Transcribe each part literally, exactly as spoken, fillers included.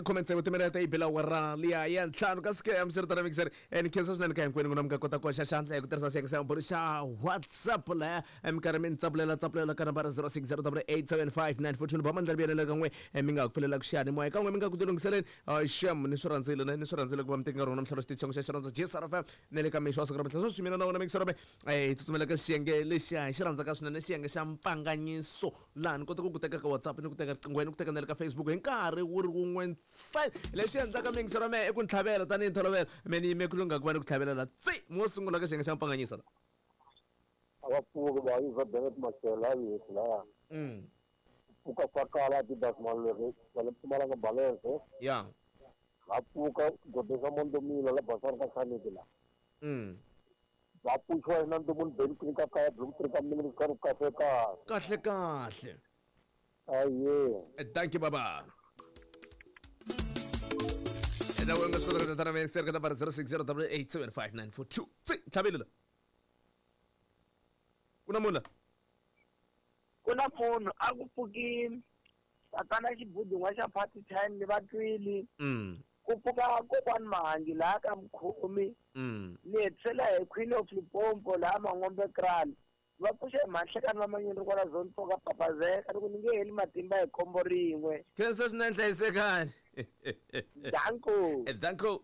Comment tsevu timinete yi bela awara liya ya ntlhanu ka sike mi mixer ni khensa swinene ka hinkwenu n'wina mi nga kota ku hoxa xandla hi ku tirhisa xiyenge xa mbhuri xa WhatsApp laha mi karhi mi ni tsapulela tsapulela ka nambara zero six zero double eight seven five nine four two ni ba mandla vuyelela ka n'we mi nga ku pfulela ku xiyanimoya ka n'we mi nga ku tilunghiseleni xem ni swi rhandzile ni swi rhandzile ku va mi teki nkarhi wa namuntlha xitichi xa xirhandza J S R F M na le ka mixo wa siku ra namuntlha sweswi mina na wena mixer hi tsutsumela ka xiyenge lexiya hi xi rhandzaka swinene xiyenge xa mpfanganyiso laha ni kota ku ku teka ka WhatsApp ni ku teka riqingweni ni ku teka na le ka Facebook hi nkarhi wu ri wun'we ntsena lexi endlaka mixer wa mehe i ku ni tlhavela tanihi ntolovelo me ni yime ku lungha ku va ni ku tlhavela la tsi mo sungula ka xiyenge xa mpfanganyiso la a va pfuki va yi va Bennett Machela yesi laya mm pfuka fakala Adidas Malwere va le Mpumalanga Balance ya va pfuka Godesa Mondomila la Basari ka Khaneti la mm va pfuxiwa na Ndomoni Ben ka kaya Blue Tree ka mina ka kahle kahle kahle kahle aye thank you baba ena wena nga swi kota ku tana mixer ka nambara zero six zero double eight seven five nine four two tsi tlhavile la ku na munhu la ku na munhu a ku pfukile tatana xibudun'wa xa party time ni va twile mm ku pfuka kokwani Mahangi laha ka Mkhomi mm ni hetisela hi Queen of Limpopo laha Mangombe Kraal va pfuxa hi Mahlekani va Manyoni kwala zone four ka Papazeka ni ku ni nge heli matimba hi khombo rin'we khensa swinene hlayisekani danko danko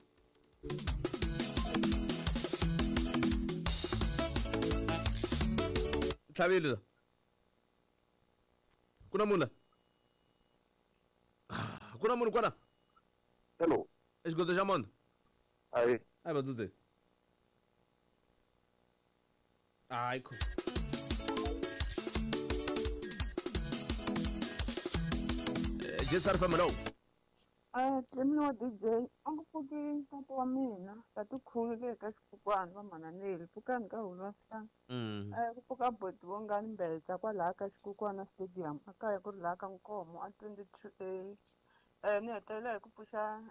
tlhavile la ku na munhu la ku na munhu kwala hello exigodo xa Mondo ayi ayi vadzudze hayi kho J S R F M hello a Clemi wa D J a ku pfuki tata wa mina tati khulu ka xikukwana va mananeli pfukani ka hulwasana mm ku pfuka boti vongani mbedza kwalaha ka xikukwana stadium a kaya ku ri laha ka Nkomo a twenty two A eh ni hetelela hi ku pfuxa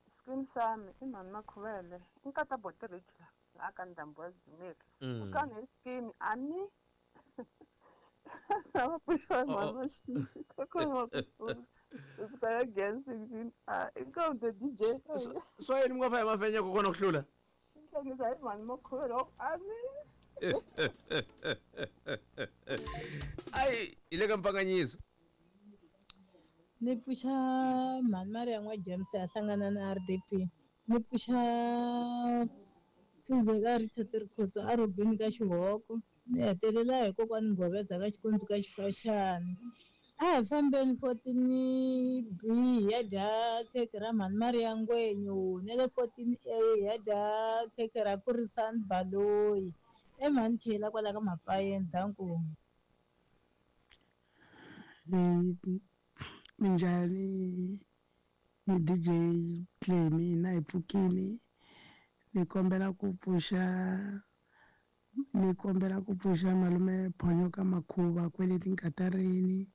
skim sami i mhani Makhuvele i nkata boti rich laha ka ndhambi wa Dzumeri kutani hi skim ani a va pfuxiwa mhani Maxinxi kokwana wa again sixteen a inkomu the D J swa yini mi nga fa hi mafenya kokwana ku hlula hlekisa hi mhani Makhuvele wa ku ani ayi hi le ka mpfanganyiso ni pfuxa mhani Maria n'wa James a hlangana na R D P ni pfuxa Sizeka Richard Rikhotso a Robin ka Xihoko ni hetelela hi kokwani Nghovedza ka Xikundzu ka Xifaxani a hi fambeni fourteen B ya dya khekhe ra mhani Maria Ngwenyu na le fourteen A ya dya khekhe ra Kurisani Baloyi e mhani Khela kwala ka Mapayeni danko minjhani ni D J Clemi na hi pfukini ni kombela ku pfuxa ni kombela ku pfuxa malume Phonyo ka Makhuva kwele tinkatarini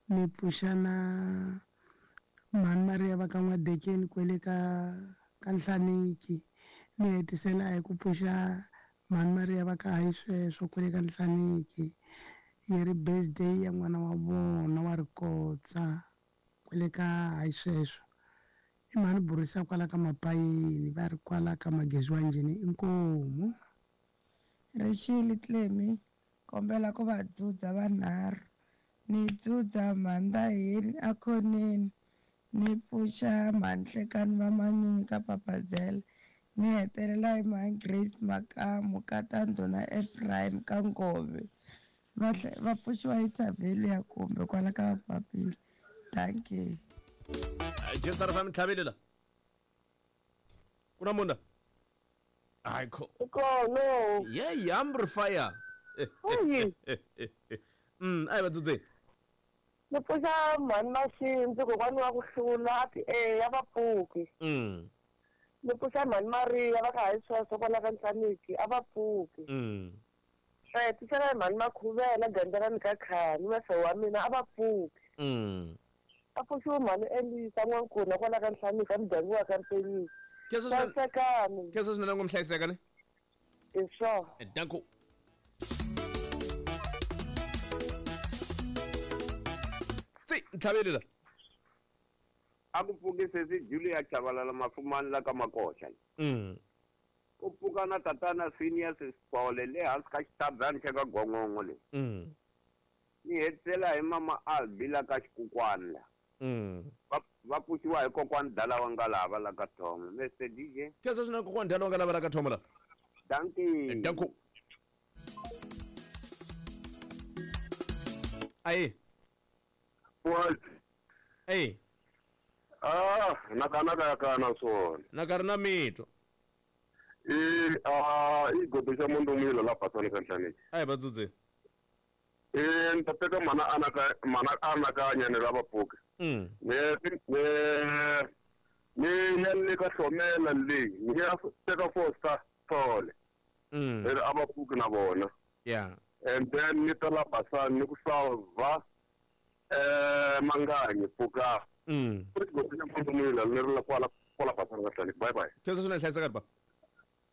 ni pfuxa na mhani Maria va ka N'wadekeni kwele ka ka Nhlaniki ni hetisela hi ku pfuxa mhani Maria va ka hayi sweswo kwele ka Nhlaniki yi ri birthday ya n'wana wa vona wa Rikotsa kwele ka hayi sweswo i mhani Burisa kwala ka Mapayeni va ri kwala ka Magezi wa Njhini inkomu Rixile Clemi kombela ku va dzudza vanharhu ni dzudza Mhandaheni akhoneni ni pfuxa Mhanhlekani va Manyunyu ka Papazela ni hetelela hi mhani Grace Makamu ka Tanduna Ephraim ka Ngove va va pfuxiwa hi Thavelia kumbe kwala ka Mapapila thank you J S R F M tlhavile la ku na munhu la hayi kho kona yeah amber fire mm ayi vadzudze ni pfuxa mhani Maxinzi kokwani wa ku hlula a ti e ya va pfuki mm ni pfuxa mhani Maria va ka hayi sweswo kwala ka Nhlaniki a va pfuki mm swa hetisela hi mhani Makhuvela Gandzelani ka Khani mefe wa mina a va pfuki mm a pfuxiwe mhani Elisa N'wankuna kwala ka Nhlaniki a muganga wa ka Mpenyisi hlayisekani khensa swinene ngo mi hlayiseka ne hi swona danko tsi ntlhaveli la A ku pfuki sesi Julia Chabalala Mafumani la ka Makoxa. Mm. Ku pfuka na tatana Phineas Sipole le hansi ka xitabyana xa ka Gongongo le. Mm. Ni hetisela hi mama Albi la ka Xikukwana la. Mm. Va va pfuxiwa hi kokwani Dala wa Ngalava la ka Thomo. Mister D J. Khensa swinene kokwani Dala wa Ngalava la ka Thomo la. Dankie. Danko. Aye. What? Aye. Ah, naka naka kana swona. Naka ri na mitwa. Eh, ah, i godo xa mundu la pasani ka nhlaneki. Aye vadzudze. Eh, ni ta teka mana anaka mana anakanya ni lava pfuka. Mm. Ne ne ne ya le ka hlomela leyi, ni ya teka four star tole. Mm. Ri a va pfuki na vona. Yeah. And then ni ta la pasani ni ku salva eh manganyi pfuka. Mm. Bye bye. Khensa swinene hlayiseka ba.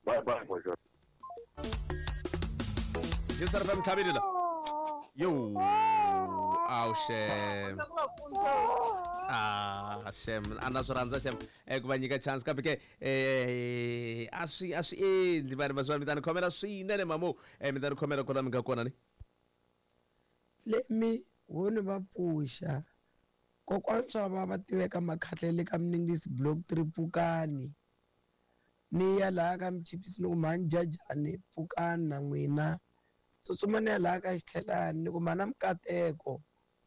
Bye bye boy. Jisara fam thabile la. Yo. Aw shem. Ah shem, ana swi rhandza shem. Eh ku va nyika chance kambe ke eh a swi a swi endli vanhu va swa mi ta ni khomela swinene mamu. Eh mi ta ni khomela kwala mi nga kona ni. Let me wona va pfuxa. Kokwana swa va va tiveka makhatlele ka Mningisi block three pfukani. Ni ya laha ka Mchipisi ni ku mhani Jajani pfukani na n'wina. Tsutsuma ni ya laha ka Xitlhelani ni ku mhana Mukateko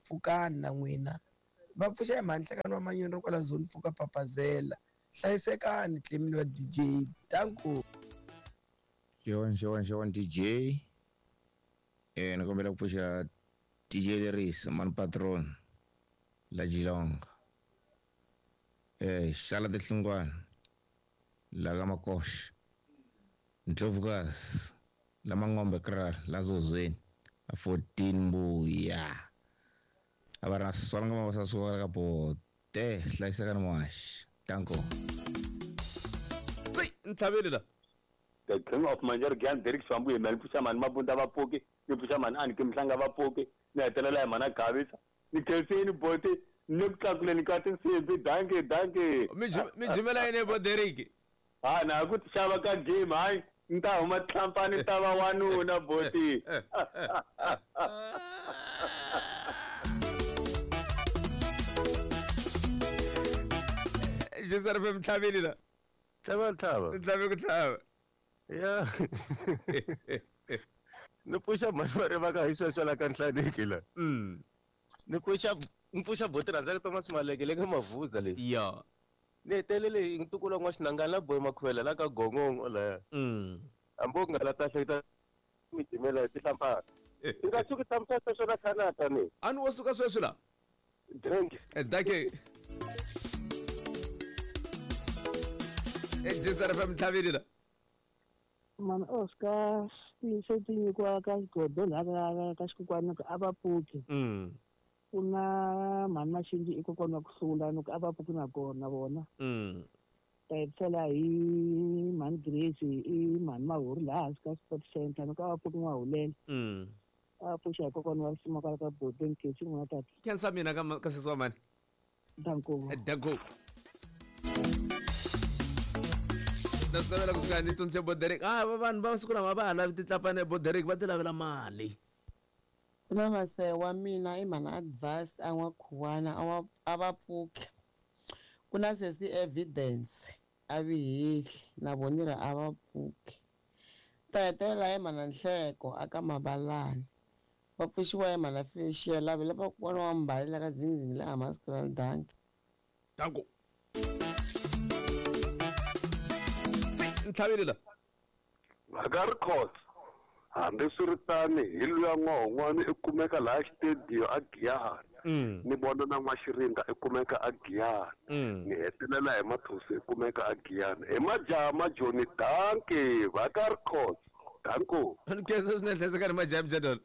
pfukani na n'wina. Va pfuxa hi mhani Nhlekani wa Manyoni ro kwala zone pfuka Papazela. Hlayisekani Clemile wa D J. Danko. Xewani xewani xewani D J. Eh ni kombela ku pfuxa D J Lerisa mani patron. La Geelong. Eh xala tihlungwana la ka Makoxa. Ndlovukazi la Mangombe Kraal la Zozweni a fourteen mbuya. A va ra swala nga mavasa suka ka bote hlayisekani mwaxi. Danko. Tsi ntlhaveli la. The King of Manjaro Gan Derek Swambu hi mani pfuxa mani Mabunda va pfuki, ni pfuxa mani Aniki Mhlanga va pfuki, ni hetelela hi mana Gavisa. Ni khensini boti ni ku tlakuleni ka tinsimbi dankie dankie. Mi jimela yini bo Derek? Ah na ku xava ka game hayi ni ta huma tlampani ta va wanuna boti. Jisara fem tlhaveli la. Tlhava tlhava. Tlhave ku tlhava. Ya. Ni pfuxa mhani va ri va ka hi sweswo la ka Nhlaneki la. Mm. Ni pfuxa ni pfuxa boti rhandzaka Thomas Maleke le ka Mavuza leyi. Ya. Ni hetelele hi ntukulu wa N'waxinangana la Boy Makhuvela la ka Gongongo laya. Mm. Hambi u nga la ta hleketa mi jimela hi tihlampfana. I nga tshuki tshamisisa sweswo na Canada ni. A ni wo suka sweswi la. Drink. Eh dankie. Eh Jisara fam tlhaveli la. Mani Oscar se ti nyikiwa ka xigodo laha ka Xikukwana ku a va pfuki. Mm. Ku na mhani Maxingi i kokwana wa ku hlula ni ku a va pfuki na kona vona. Mm. Ta hetisela hi mhani Grace i mhani Mahuri laha hansi ka Sport Center ni ku a va pfuki N'wahulela. Mm. A va pfuxa hi kokwana wa risima kwala ka Boteni Khetsi n'wana tata. Khensa mina ka ka sesi wa mani. Danko. Danko. Na swi navela kusuka ni tsundzuxe bo Derek. Ah vanhu va masiku lama va ha lavi titlapane bo Derek va ti lavela mali. Ku na maseya wa mina i mhana Advance a N'wakhuwana a wa a va pfuki. Ku na sesi Evidence a Vihehli na vona ri a va pfuki. Ta hetelela hi mhana Nhleko a ka Mabalani. Va pfuxiwa hi mhana Felicia lava lava kokwana wa Mbali la ka Dzingidzingi la Hammanskraal Dankie. Danko. Ntlhaveli la. Vakarikos. Hambi swi ri tani hi luya n'wahon'wani i kumeka laha xitediyo a Giyani. Mm. Ni vona na N'waxirinda i kumeka a Giyani. Mm. Ni hetelela hi Mathosi i kumeka a Giyani. Hi majaha majoni dankie Vakarikos. Danko. Ni khensa swinene hlayisekani majaha mjadolo.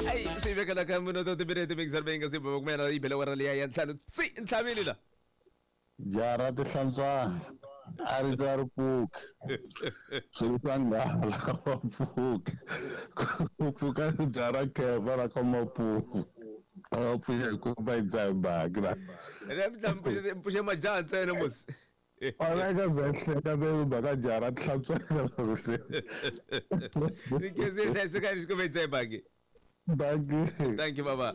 Ai swi vekela ka minuto timbirhi timixer leyi nga si bava kumela yi bele wara liya ya ntlhanu tsi ntlhaveli la. Jara tihlantswana a ri ta ri pfuki. Swilo swa nghala wa pfuki. Ku pfuka jara kheva ra ka Mapuku. A pfuxa hi kumba hi dzaha baki la. Ene mi pfuxe majaha ntsena musi. Alaka bya be mhaka jaha ra tihlantswana Ni khensi hlayisekani xikombe hi dzaha baki. Dankie. Thank you baba.